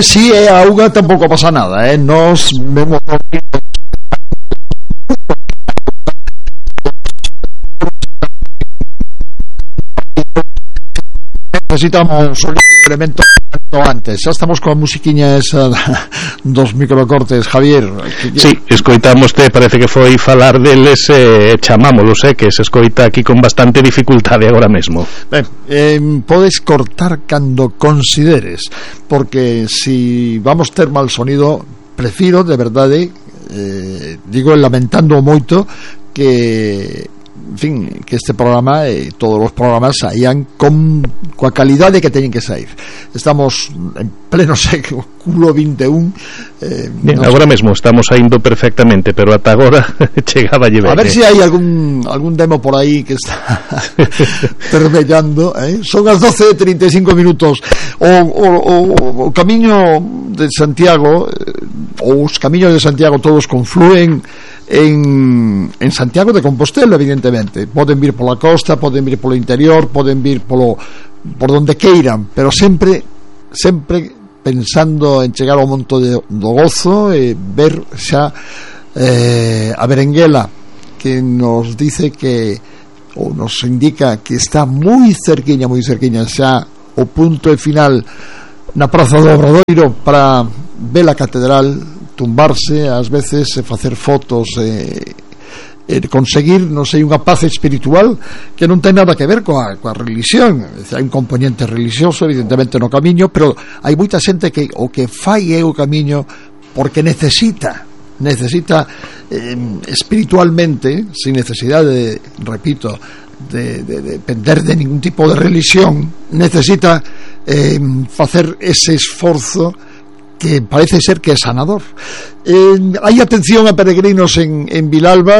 Si é a auga tampouco pasa nada, nos vemos. Necesitamos un elemento antes. Xa estamos coa musiquiña esa dos microcortes, Javier. Sí, escoitámoste, parece que foi falar deles, chamámolos, que se escoita aquí con bastante dificultade agora mesmo. Ben, podes cortar cando consideres, porque si vamos ter mal sonido, prefiro, de verdade, digo lamentando moito que, en fin, que este programa e todos os programas saían coa calidade que teñen que sair. Estamos en pleno século 21. Bien, agora mesmo estamos saindo perfectamente, pero ata agora chegaba ben. A ver se hai algún demo por aí que está permellando, Son as 12:35 minutos. O camiño de Santiago, os camiños de Santiago todos confluen en Santiago de Compostela, evidentemente. Poden vir pola costa, poden vir polo interior, poden vir por donde queiran, pero sempre pensando en chegar ao monte do Gozo e ver xa a Berenguela, que nos dice que, ou nos indica que está moi cerquiña xa o punto final na Praza do Obradoiro para ver a catedral, tumbarse ás veces e facer fotos e conseguir, non sei, unha paz espiritual que non ten nada que ver coa religión. Hai un componente religioso evidentemente no camiño, pero hai moita xente que o que fai é o camiño porque necesita espiritualmente, sin necesidade, repito, de depender de ningún tipo de religión, necesita facer ese esforzo que parece ser que é sanador. Hai atención a peregrinos en Vilalba.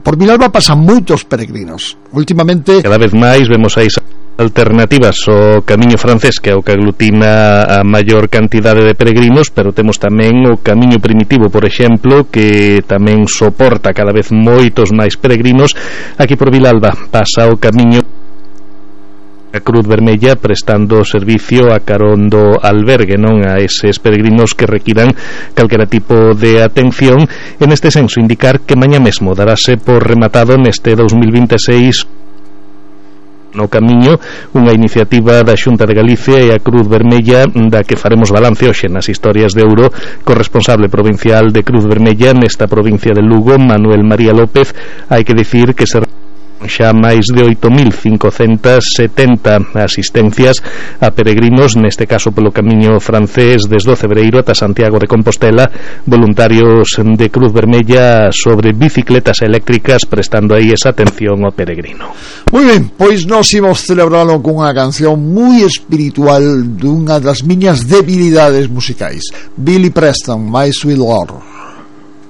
Por Vilalba pasan moitos peregrinos últimamente. Cada vez máis vemos aí alternativas ao camiño francés, que é o que aglutina a maior cantidade de peregrinos, pero temos tamén o camiño primitivo, por exemplo, que tamén soporta cada vez moitos máis peregrinos. Aquí por Vilalba pasa o camiño a Cruz Vermella prestando servicio a carón do albergue, non a eses peregrinos que requiran calquera tipo de atención. En este senso, indicar que mañá mesmo darase por rematado neste 2026 no camiño unha iniciativa da Xunta de Galicia e a Cruz Vermella, da que faremos balance hoxe nas historias de Ouro co responsable provincial de Cruz Vermella nesta provincia de Lugo, Manuel María López. Hai que dicir que se xa máis de 8.570 asistencias a peregrinos, neste caso polo camiño francés desde o Cebreiro ata Santiago de Compostela, voluntarios de Cruz Vermella sobre bicicletas eléctricas prestando aí esa atención ao peregrino. Moi ben, pois nos imos celebralo con unha canción moi espiritual dunha das miñas debilidades musicais, Billy Preston, My Sweet Lord.